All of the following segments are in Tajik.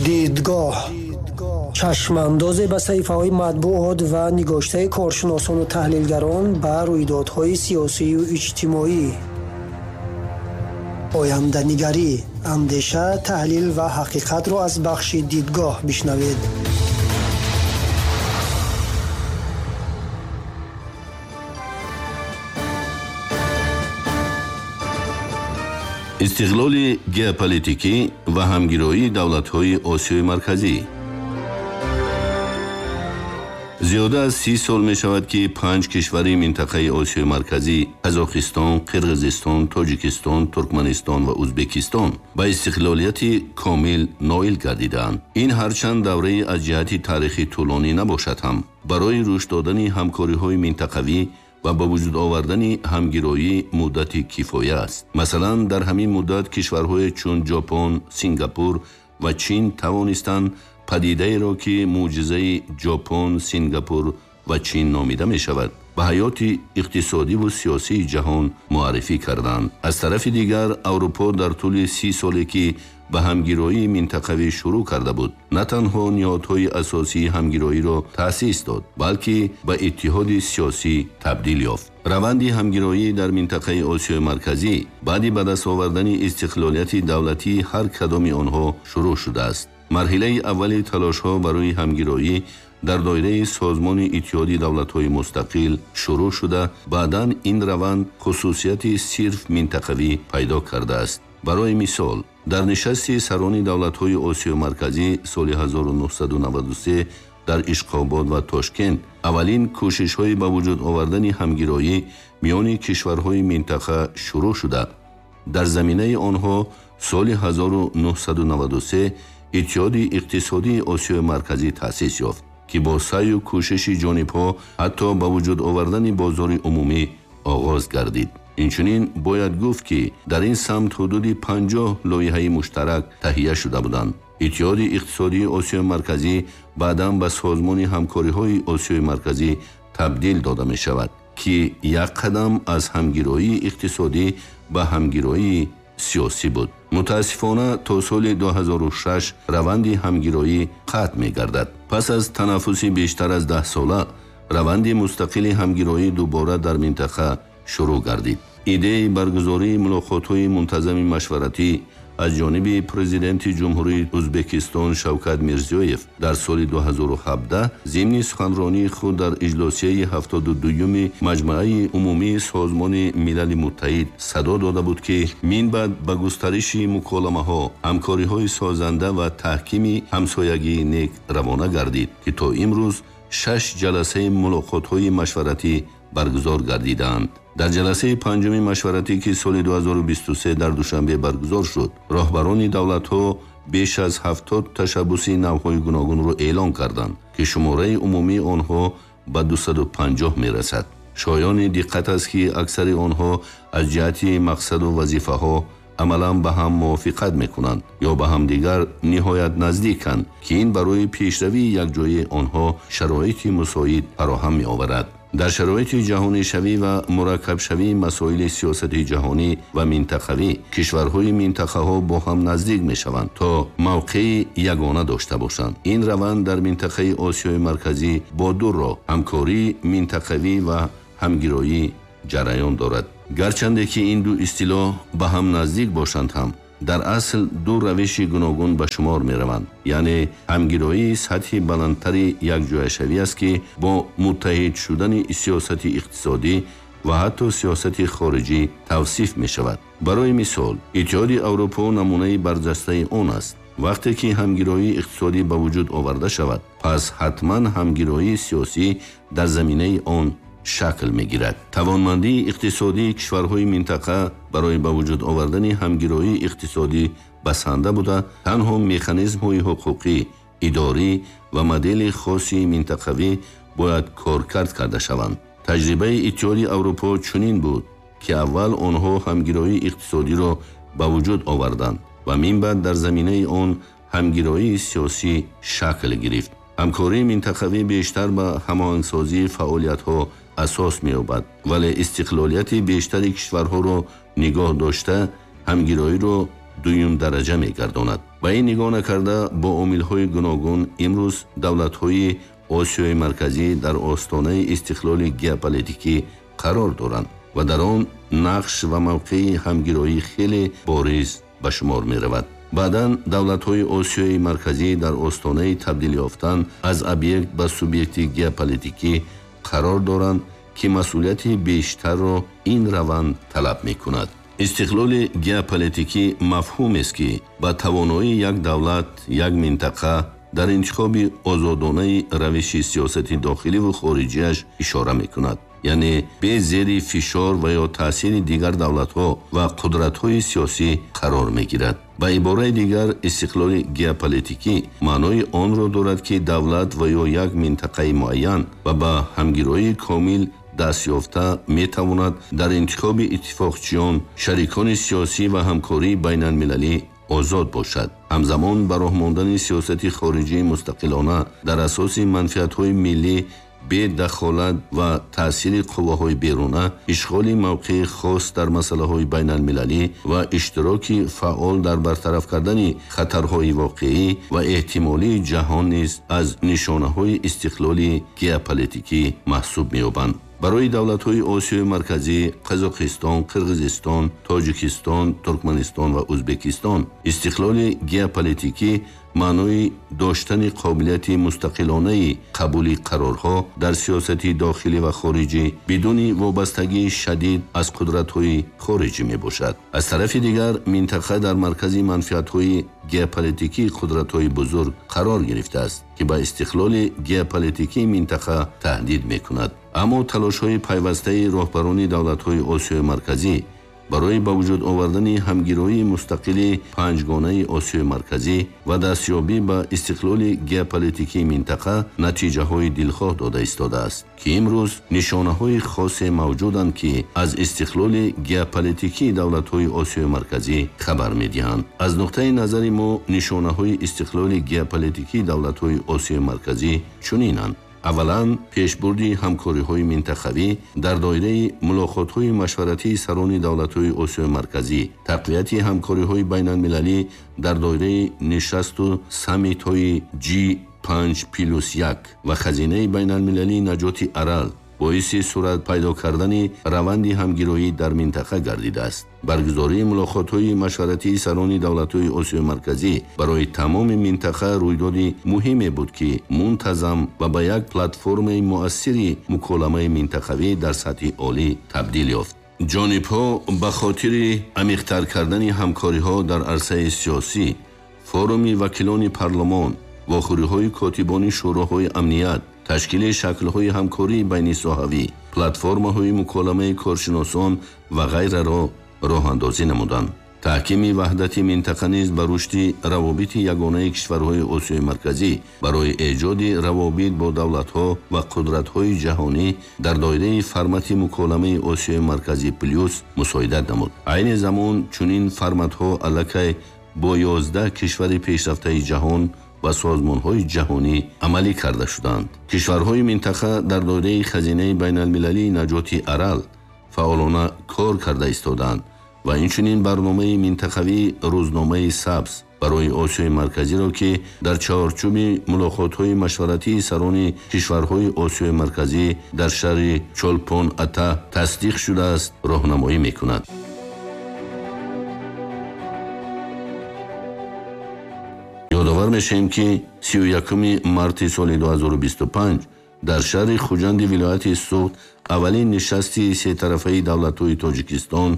Дидгоҳ чашмандозе ба саҳифаҳои матбуот ва нигоштаи коршиносону таҳлилгарон ба рӯйдодҳои сиёсию иҷтимоӣ. Оянданигарӣ, андеша, таҳлил ва ҳақиқатро аз бахши дидгоҳ бишнавед. Истиқлоли геополитикӣ ва ҳамгироии давлатҳои Осиёи Марказӣ. Зиёда аз 30 сол мешавад, ки 5 кишвари минтақаи Осиёи Марказӣ Қазоқистон, Қирғизистон, Тоҷикистон, Туркманистон ва Ӯзбекистон ба истиқлолияти комил ноил гардидаанд. Ин ҳарчанд давраи аз ҷиҳати таърихӣ тӯлонӣ набошад ҳам, барои рушд додани ҳамкориҳои минтақавӣ ва ба вуҷуд овардани ҳамгироӣ муддати кифоя аст. Масалан, дар ҳамин муддат кишварҳое чун Ҷопон, Сингапур ва Чин тавонистанд падидаеро, ки мӯъҷизаи Ҷопон, Сингапур ва Чин номида мешавад, ба ҳаёти иқтисодиву сиёсии ҷаҳон муаррифӣ карданд. Аз тарафи дигар, Аврупо дар тӯли 30 соле, ки ба ҳамгироии минтақавӣ шурӯъ карда буд, на танҳо ниҳодҳои асосии ҳамгироиро таъсис дод, балки ба иттиҳоди сиёсӣ табдил ёфт. Раванди ҳамгироӣ дар минтақаи Осиёи Марказӣ баъди ба даст овардани истиқлолияти давлатии ҳар кадоми онҳо шурӯъ шудааст. Марҳилаи аввали талошҳо барои ҳамгироӣ дар доираи Созмони Иттиҳоди Давлатҳои Мустақил шурӯъ шуда, баъдан ин раванд хусусияти сирф минтақавӣ пайдо кардааст. Барои мисол, дар нишасти сарони давлатҳои Осиёи Марказӣ соли 1993 дар Ишқобод ва Тошкент аввалин кӯшишҳои ба вуҷуд овардани ҳамгироӣ миёни кишварҳои минтақа шурӯъ шуда, дар заминаи онҳо соли 1993 Иттиҳоди иқтисодии Осиёи Марказӣ таъсис ёфт, ки бо саъю кӯшиши ҷонибҳо ҳатто ба вуҷуд овардани бозори умумӣ оғоз гардид. Инчунин бояд гуфт, ки дар ин самт ҳудуди 50 лоиҳаи муштарак таҳия шуда буданд. Иттиҳоди иқтисодии Осиёи Марказӣ баъдан ба Созмони ҳамкориҳои Осиёи Марказӣ табдил дода мешавад, ки як қадам аз ҳамгироии иқтисодӣ ба ҳамгироии сиёсӣ буд. Мутаассифона, то соли 2006 раванди ҳамгироӣ қатъ мегардад. Пас аз танаффуси бештар аз 10 сола раванди мустақили ҳамгироӣ дубора дар минтақа шурӯъ гардид. Идеяи баргузории мулоқотҳои мунтазами машваратӣ аз ҷониби президенти Ҷумҳурии Ӯзбекистон Шавкат Мирзиёев дар соли 2017 зимни суханронии худ дар иҷлосияи 72-юми Маҷмааи умумии Созмони Милали Муттаҳид садо дода буд, ки минбаъд ба густариши муколамаҳо, ҳамкориҳои созанда ва таҳкими ҳамсоягии нек равона гардид, ки то имрӯз 6 ҷаласаи мулоқотҳои машваратӣ баргузор гардидаанд. Дар ҷаласаи 5-уми машваратӣ, ки соли 2023 дар Душанбе баргузор шуд, роҳбарони давлатҳо беш аз 70 ташаббуси навъҳои гуногунро эълон карданд, ки шумораи умумии онҳо ба 250 мерасад. Шоёни диққат аст, ки аксари онҳо аз ҷиҳати мақсаду вазифаҳо амалан ба ҳам мувофиқат мекунанд ё ба ҳамдигар ниҳоят наздиканд, ки ин барои пешравии якҷояи онҳо шароити мусоид фароҳам меоварад. Дар шароити ҷаҳонишавӣ ва мураккабшавии масоили сиёсати ҷаҳонӣ ва минтақавӣ кишварҳои минтақаҳо бо ҳам наздик мешаванд, то мавқеи ягона дошта бошанд. Ин раванд дар минтақаи Осиёи Марказӣ бо ду роҳ ҳамкории минтақавӣ ва ҳамгироӣ ҷараён дорад. Гарчанде ки ин ду истилоҳ ба ҳам наздик бошанд ҳам, дар асл ду равиши гуногун ба шумор мераванд. Яъне ҳамгироии сатҳи баландтари якҷояшавӣ аст, ки бо муттаҳид шудани сиёсати иқтисодӣ ва ҳатто сиёсати хориҷӣ тавсиф мешавад. Барои мисол, Иттиҳоди Аврупо намунаи барҷастаи он аст. Вақте ки ҳамгироии иқтисодӣ ба вуҷуд оварда шавад, пас ҳатман ҳамгироии сиёсӣ дар заминаи он шакл мегирад. Тавонмандии иқтисодии кишварҳои минтақа барои ба вуҷуд овардани ҳамгироии иқтисодӣ басанда буда, танҳо механизмҳои ҳуқуқӣ, идорӣ ва модели хоси минтақавӣ бояд коркард карда шаванд. Таҷрибаи Иттиҳоди Аврупо чунин буд, ки аввал онҳо ҳамгироии иқтисодиро ба вуҷуд оварданд ва минбаъд дар заминаи он ҳамгироии сиёсӣ шакл гирифт. Ҳамкории минтақавӣ бештар ба ҳамоҳангсозии фаъолиятҳо асос меёбад, вале истиқлолияти бештари кишварҳоро нигоҳ дошта, ҳамгироиро дуюмдараҷа мегардонад. Ба ин нигоҳ накарда, бо омилҳои гуногун имрӯз давлатҳои Осиёи Марказӣ дар остонаи истиқлоли геополитикӣ қарор доранд ва дар он нақш ва мавқеи ҳамгироӣ хеле бориз ба шумор меравад. Баъдан давлатҳои Осиёи Марказӣ дар остонаи табдил ёфтан аз объект ба субъекти геополитикӣ қарор доранд, ки масъулияти бештарро ин раванд талаб мекунад. Истиқлоли геополитикӣ мафҳумест, ки ба тавоноии як давлат, як минтақа дар интихоби озодонаи равиши сиёсати дохилӣ ву хориҷиаш ишора мекунад, яъне бе зери фишор ва ё таъсири дигар давлатҳо ва қудратҳои сиёсӣ қарор мегирад. Ба ибораи дигар, истиқлоли геополитикӣ маънои онро дорад, ки давлат ва ё як минтақаи муайян ва ба ҳамгироии комил дастёфта метавонад дар интихоби иттифоқчиён, шарикони сиёсӣ ва ҳамкории байналмилалӣ озод бошад. Ҳамзамон ба роҳ мондани сиёсати хориҷии мустақилона дар асоси манфиатҳои миллӣ бе дахолат ва таъсири қувваҳои беруна, ишғоли мавқеи хос дар масъалаҳои байналмилалӣ ва иштироки фаъол дар бартараф кардани хатарҳои воқеӣ ва эҳтимолии ҷаҳон низ аз нишонаҳои истиқлоли геополитикӣ маҳсуб меёбанд. Барои давлатҳои Осиёи Марказӣ, Қазоқистон, Қирғизистон, Тоҷикистон, Туркманистон ва Ӯзбекистон истиқлоли геополитикӣ маънои доштани қобилияти мустақилонаи қабули қарорҳо дар сиёсати дохилӣ ва хориҷӣ бидуни вобастагии шадид аз қудратҳои хориҷӣ мебошад. Аз тарафи дигар, минтақа дар маркази манфиатҳои геополитикии қудратҳои бузург қарор гирифтааст, ки ба истиқлоли геополитикии минтақа таҳдид мекунад. Аммо талошҳои пайвастаи роҳбарони давлатҳои Осиёи Марказӣ барои ба вуҷуд овардани ҳамгироии мустақили панҷгонаи Осиёи Марказӣ ва дастёбӣ ба истиқлоли геополитикии минтақа натиҷаҳои дилхоҳ дода истодааст, ки имрӯз нишонаҳои хосе мавҷуданд, ки аз истиқлоли геополитикии давлатҳои Осиёи Марказӣ хабар медиҳанд. Аз нуқтаи назари мо нишонаҳои истиқлоли геополитикии давлатҳои Осиёи Марказӣ чунинанд. Аввалан, пешбурди ҳамкориҳои минтақавӣ дар доираи мулоқотҳои машваратии сарони давлатҳои Осиёи Марказӣ, тақвияти ҳамкориҳои байналмилалӣ дар доираи нишасту саммитҳои G5+1 ва хазинаи байналмилалии наҷоти Арал боиси сурат пайдо кардани раванди ҳамгироӣ дар минтақа гардидааст. Баргузории мулоқотҳои машваратии сарони давлатҳои Осиёи Марказӣ барои тамоми минтақа рӯйдоди муҳиме буд, ки мунтазам ва ба як платформаи муассири муколамаи минтақавӣ дар сатҳи олӣ табдил ёфт. Ҷонибҳо ба хотири амиқтар кардани ҳамкориҳо дар арсаи сиёсӣ, форуми вакилони парлумон, вохӯриҳои котибони шӯроҳои амният, ташкили шаклҳои ҳамкории байнисоҳавӣ, платформаҳои муколамаи коршиносон ва ғайраро роҳандозӣ намуданд. Таҳкими ваҳдати минтақа низ ба рушди равобити ягонаи кишварҳои Осиёи Марказӣ барои эҷоди равобит бо давлатҳо ва қудратҳои ҷаҳонӣ дар доираи формати муколамаи Осиёи Марказӣ плюс мусоидат намуд. Айни замон чунин форматҳо аллакай бо 11 кишвари пешрафтаи ҷаҳон ва созмонҳои ҷаҳонӣ амалӣ карда шуданд. Кишварҳои минтақа дар доираи хазинаи байналмилалии наҷоти Арал фаъолона кор карда истодаанд ва инчунин барномаи минтақавии рӯзномаи сабз барои Осиёи Марказиро, ки дар чаҳорчӯби мулоқотҳои машваратии сарони кишварҳои Осиёи Марказӣ дар шаҳри Чолпон-Ата тасдиқ шудааст, роҳнамоӣ мекунад. Ёдовар мешавем, ки 31 марти соли 2025 дар шаҳри Хуҷанди вилояти Суғд аввалин нишасти сетарафаи давлатҳои Тоҷикистон,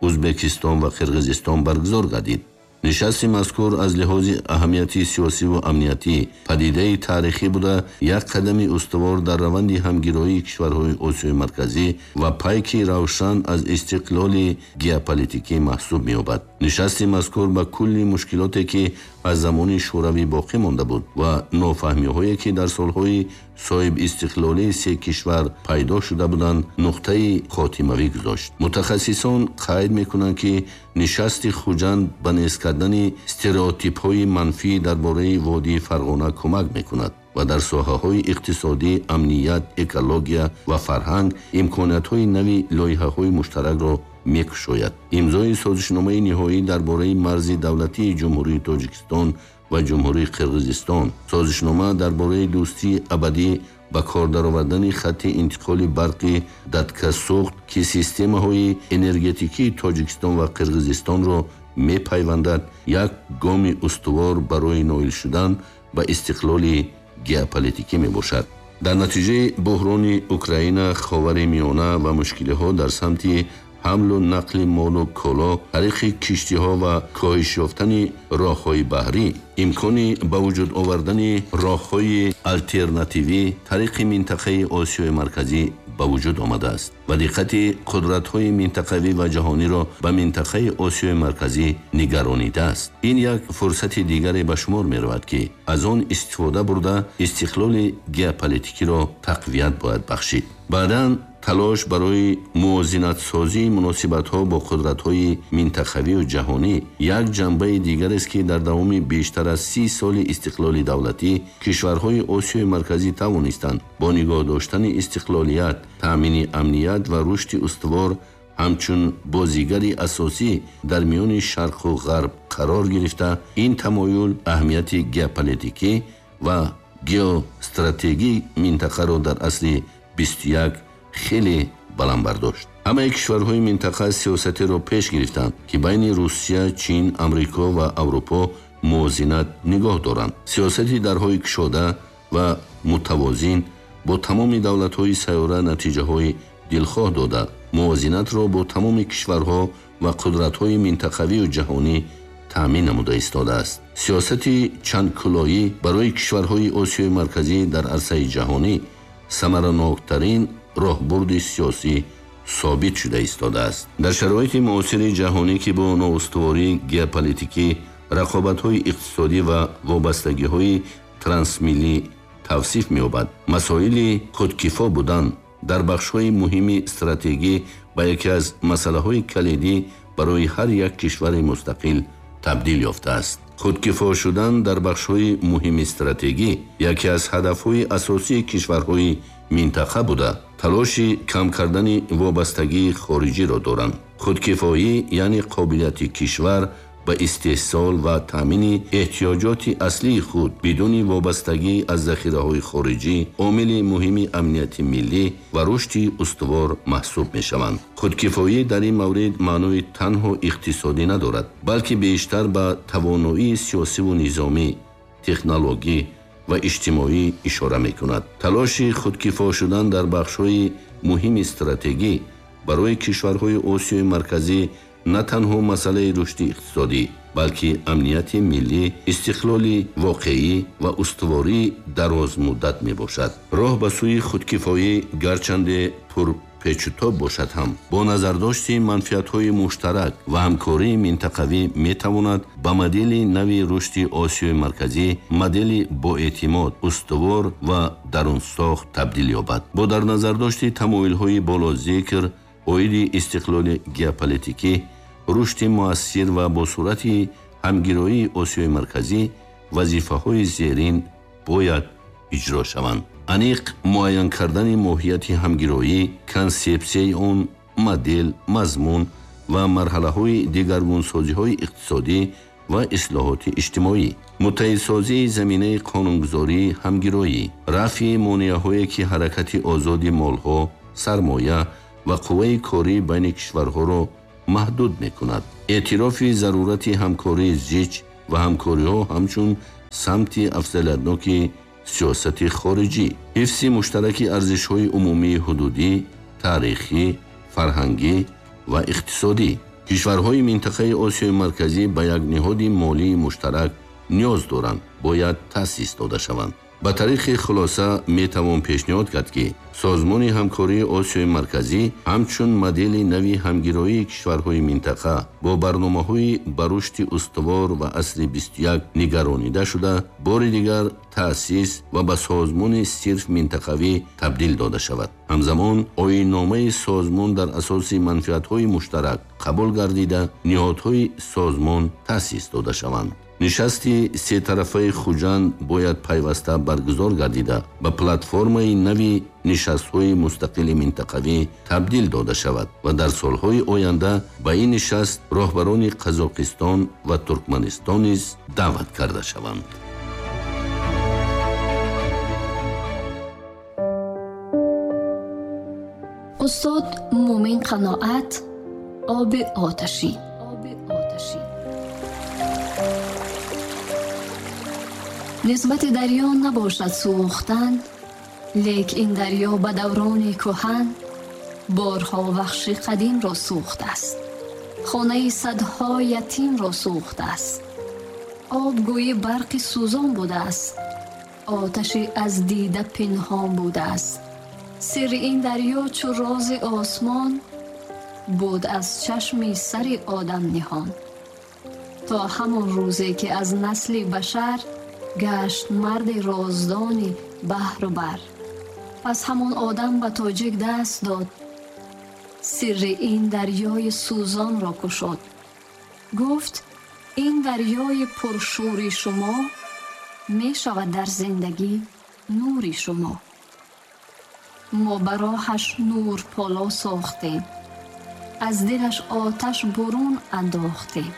Ӯзбекистон ва Қирғизистон баргузор гардид. Нишасти мазкур аз лиҳози аҳамияти сиёсиву амниятӣ падидаи таърихӣ буда, як қадами устувор дар раванди ҳамгироии кишварҳои Осиёи Марказӣ ва пайки равшан аз истиқлоли геополитикӣ маҳсуб меёбад. Нишасти мазкур ба кулли мушкилоте, ки аз замони шӯравӣ боқӣ монда буд ва нофаҳмиҳое, ки дар солҳои соҳибистиқлолии се кишвар пайдо шуда буданд, нуқтаи хотимавӣ гузошт. Мутахассисон қайд мекунанд, ки нишасти Хуҷанд ба нест кардани стереотипҳои манфӣ дар бораи водии Фарғона кӯмак мекунад ва дар соҳаҳои иқтисодӣ, амният, экология ва фарҳанг имкониятҳои нави лоиҳаҳои муштаракро мекушояд. Имзои созишномаи ниҳоӣ дар бораи марзи давлатии Ҷумҳурии Тоҷикистон ва Ҷумҳурии Қирғизистон, созишнома дар бораи дӯстии абадӣ ба кор даровардани хатти интиқоли барқи Даткасӯхт, ки системаҳои энергетикии Тоҷикистон ва Қирғизистонро мепайвандад, як гоми устувор барои ноил шудан ба истиқлоли геополитикӣ мебошад. Дар натиҷаи буҳрони Украина, Ховари Миёна ва мушкилиҳо дар самти ҳамлу нақли молу коло тариқи киштиҳо ва коҳиш ёфтани роҳҳои баҳрӣ, имкони ба вуҷуд овардани роҳҳои алтернативӣ тариқи минтақаи Осиёи Марказӣ ба вуҷуд омадааст ва диққати қудратҳои минтақавӣ ва ҷаҳониро ба минтақаи Осиёи Марказӣ нигаронидааст. Ин як фурсати дигаре ба шумор меравад, ки аз он истифода бурда истиқлоли геополитикиро тақвият бояд бахшид. Баъдан талош барои мувозинатсозии муносибатҳо бо қудратҳои минтақавию ҷаҳонӣ як ҷанбаи дигарест, ки дар давоми бештар аз 30 соли истиқлоли давлатӣ кишварҳои Осиёи Марказӣ тавонистанд бо нигоҳ доштани истиқлолият, таъмини амният ва рушди устувор ҳамчун бозигари асосӣ дар миёни шарқу ғарб қарор гирифта, ин тамоюл аҳамияти геополитикӣ ва геостратегии минтақаро дар асри 21 хеле баланд бардошт. Ҳамаи кишварҳои минтақа сиёсатеро пеш гирифтанд, ки байни Русия, Чин, Амрико ва Аврупо мувозинат нигоҳ доранд. Сиёсати дарҳои кушода ва мутавозин бо тамоми давлатҳои сайёра натиҷаҳои дилхоҳ дода, мувозинатро бо тамоми кишварҳо ва қудратҳои минтақавию ҷаҳонӣ таъмин намуда истодааст. Сиёсати чандкулоӣ барои кишварҳои Осиёи Марказӣ дар арсаи ҷаҳонӣ самараноктарин роҳбурди сиёсӣ собит шуда истодааст. Дар шароити муосири ҷаҳонӣ, ки бо ноустувории геополитикӣ, рақобатҳои иқтисодӣ ва вобастагиҳои трансмиллӣ тавсиф меёбад, масоили худкифо будан дар бахшҳои муҳими стратегӣ ба яке аз масъалаҳои калидӣ барои ҳар як кишвари мустақил табдил ёфтааст. Худкифо шудан дар бахшҳои муҳими стратегӣ яке аз ҳадафҳои асосии кишварҳои минтақа буда, талоши кам кардани вобастагии хориҷиро доранд. Худкифоӣ яъне қобилияти кишвар ба истеҳсол ва таъмини эҳтиёҷоти аслии худ бидуни вобастагӣ аз захираҳои хориҷӣ омили муҳими амнияти миллӣ ва рушди устувор маҳсуб мешаванд. Худкифоӣ дар ин маврид маънои танҳо иқтисодӣ надорад, балки бештар ба тавоноии сиёсиву низомӣ, технологӣ ва иҷтимоӣ ишора мекунад. Талоши худкифо шудан дар бахшҳои муҳими стратегӣ барои кишварҳои Осиёи Марказӣ на танҳо масъалаи рушди иқтисодӣ, балки амнияти миллӣ, истиқлоли воқеӣ ва устувории дарозмуддат мебошад. Роҳ ба сӯи худкифоӣ гарчанде пурпечутоб бошад ҳам, бо назардошти манфиатҳои муштарак ва ҳамкории минтақавӣ метавонад ба модели нави рушди Осиёи Марказӣ, модели боэътимод, устувор ва дарунсохт табдил ёбад. Бо дар назардошти тамоюлҳои болозикр оиди истиқлоли геополитикӣ, рушди муассир ва бо суръати ҳамгироии Осиёи Марказӣ вазифаҳои зерин бояд иҷро шаванд. Аниқ муайян кардани моҳияти ҳамгироӣ, консепсияи он, модел, мазмун ва марҳалаҳои дигаргунсозиҳои иқтисодӣ ва ислоҳоти иҷтимоӣ, муттаҳидсозии заминаи қонунгузории ҳамгироӣ, рафъи монеаҳое ки ҳаракати озоди молҳо, сармоя ва қувваи корӣ байни кишварҳоро маҳдуд мекунад, эътирофи зарурати ҳамкории зич ва ҳамкориҳо ҳамчун самти афзалиятноки сиёсати хориҷӣ, ҳифзи муштараки арзишҳои умумии ҳудудӣ, таърихӣ, фарҳангӣ ва иқтисодӣ. Кишварҳои минтақаи Осиёи Марказӣ ба як ниҳоди молии муштарак ниёз доранд, бояд таъсис дода шаванд. Ба тариқи хулоса метавон пешниҳод кард, ки Созмони ҳамкории Осиёи Марказӣ ҳамчун модели нави ҳамгироии кишварҳои минтақа бо барномаҳои ба рушди устувор ва асри 21 нигаронида шуда, бори дигар таъсис ва ба созмони сирф минтақавӣ табдил дода шавад. Ҳамзамон оинномаи созмон дар асоси манфиатҳои муштарак қабул гардида, ниҳодҳои созмон таъсис дода шаванд. Нишасти сетарафаи Хуҷанд бояд пайваста баргузор гардида, ба платформаи нави нишастҳои мустақили минтақавӣ табдил дода шавад ва дар солҳои оянда ба ин нишаст роҳбарони Қазоқистон ва Туркманистон низ даъват карда шаванд. Устод Мумин Қаноат, оби оташин. Нисбати дарё набошад сӯхтан, лек ин дарё ба даврони кӯҳан борҳо вахши қадимро сӯхтааст, хонаи садҳо ятимро сӯхтааст. Об гӯйи барқи сӯзон будааст, оташи аз дида пинҳон будааст. Сирри ин дарё чу рози осмон буд аз чашми сари одам ниҳон. То ҳамон рӯзе ки аз насли башар гашт марди роздони баҳру бар. Пас ҳамон одам ба тоҷик даст дод, сирри ин дарёи сӯзонро кушод. Гуфт: ин дарёи пуршӯри шумо мешавад дар зиндагӣ нури шумо. Мо ба роҳаш нур поло сохтем, аз дилаш оташ бурун андохтем.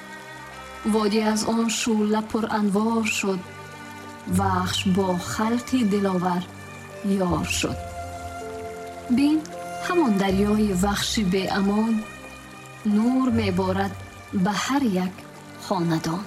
Водӣ аз он шӯъла пуранвор шуд, вахш бо халқи диловар ёр шуд. Бин, ҳамон дарёи вахши беамон нур меборад ба ҳар як хонадон.